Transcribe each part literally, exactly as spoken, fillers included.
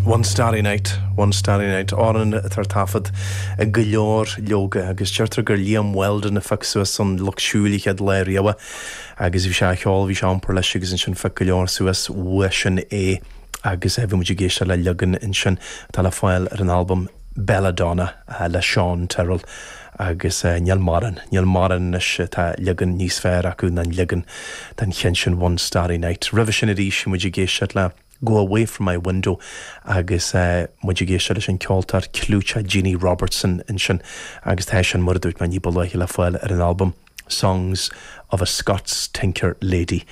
One Starry Night, One Starry Night, amhrán atá ar taifead ag go leor leoga agus deirtear gur Liam Weldon a phioc suas an Lucht Siúil an chéad lá riamh agus bhí sé á cheol, bhí sé á iompar leis agus ansin phioc go leor suas uaidh sin é agus bhí muid ag éisteacht le leagan ansin atá le fáil ar an albam Belladonna le Sean Tyrrell agus níl mórán, níl mórán anois atá leagan níos fearr acu ná an leagan den cheann sin One Starry Night. Roimhe sin arís bhí muid ag éisteacht le Go Away From My Window agus muid ag éisteacht leis an ceoltóir clúiteach Jeannie Robertson ansin agus tá sin mar a dúirt mé ní ba luaithe le fáil ar an albam Songs of a Scots Tinker Lady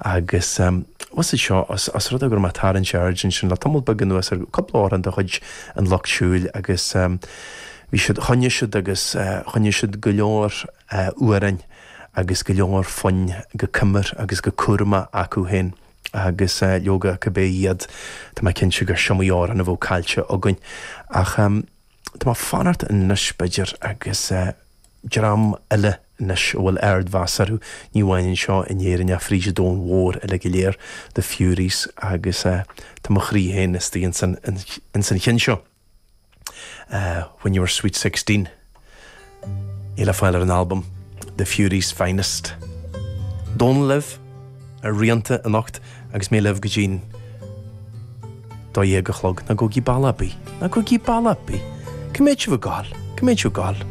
agus um, was seo as, as rud gur má tarraingt aird sin le tamall beag anuas ar cúpla amhrán de chuid an Lucht Siúil agus um, bhí siad choinnigh siad agus uh, choinnigh siad go leor uh, amhráin agus go leor foinn go cumar agus go cúramach acu féin agus uh, leoga cibé iad Tá mé cinnte gur is iomaí amhrán a bhí caillte againn ach um, Tá fanacht anois b'fhéidir agus uh, dream eile anois a bhfuil ardmheas orthu ní amháin anseo in Éirinn ach fríd an domhan mhór eile go léir The Fureys agus uh, tá mo chroí féin istigh in in san cheann seo. Uh, when you were sweet sixteen é le fáil ar an album The Fureys Finest. Dónall libh ar Rianta anocht agus mé libh go dtí'n dó dhéag a chlog ná gabhaigí bealach ar bith, ná gabhaigí bealach ar bith. Cá mbeidh sibh ag gabháil, cá mbeidh sibh ag gabháil.